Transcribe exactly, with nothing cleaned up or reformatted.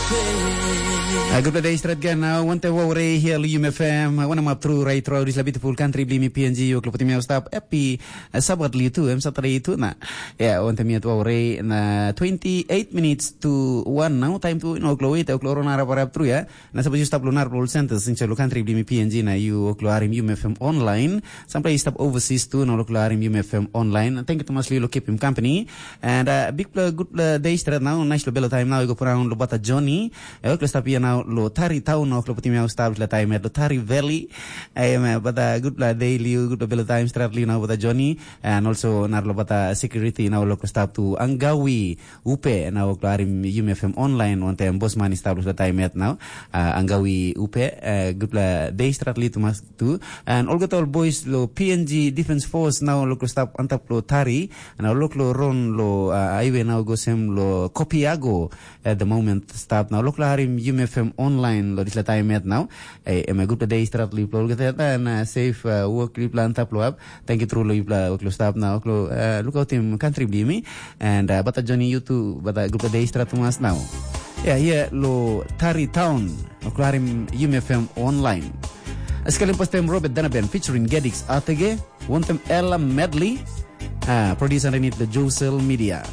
A gutpela de stret gen na wante wou rei hia lu yum F M. Wana map tru rai tru dis la beautiful country blimi P N G yo klopotim yau stap happy Sabat liu tu em Saturday tu na. Ya wante miat wou rei na twenty eight minutes to one now time tu no klo wait klo rona rap rap tru ya. Na sapos yu stap lo narapela ol centers insait lo country blimi P N G na yu oklo arim yum F M online. Sampela yu stap overseas tu na oklo arim yum F M online. Thank you Thomas Lilo keep him company. And uh, big uh, good uh, day stret now. Nice lo belo time now. Yu go put on lo bata Johnny. Eh, oklo stap ia now lo Tari Town. Oklo putim yau stap lo time at lo Tari Valley. Eh, ma, bata good uh, day liu good uh, belo time stret liu now bata Johnny. And also nar lo bata security now lo stap tu Angawi. Upe na wok lo harim Yumi F M online wantaim bosman i stap lo taim yet nau. Uh, Angawi Upe, uh, gutpela day stratli tumas tu. And olgeta ol boys lo P N G Defense Force nau lo stap antap lo Tari, na lo lo ron lo uh, highway nau gosem lo Kopiago at the moment stap nau lo harim Yumi F M online lo disla taim yet nau. Eh, em a gutpela day stratli lo olgeta yet na safe uh, work li plan tap lo up. Thank you tru lo yupela wok lo stap na wok lo uh, lukautim country bli mi. And uh, bata Johnny you too bata group day strat tumas now. Yeah, yeah, lo Tari Town. Wok lo harim Yumi F M online. Sekalin pastem Robert Danaben featuring Gedix Atege. Wantem Ella Medley. Uh, produce underneath the Josel Media.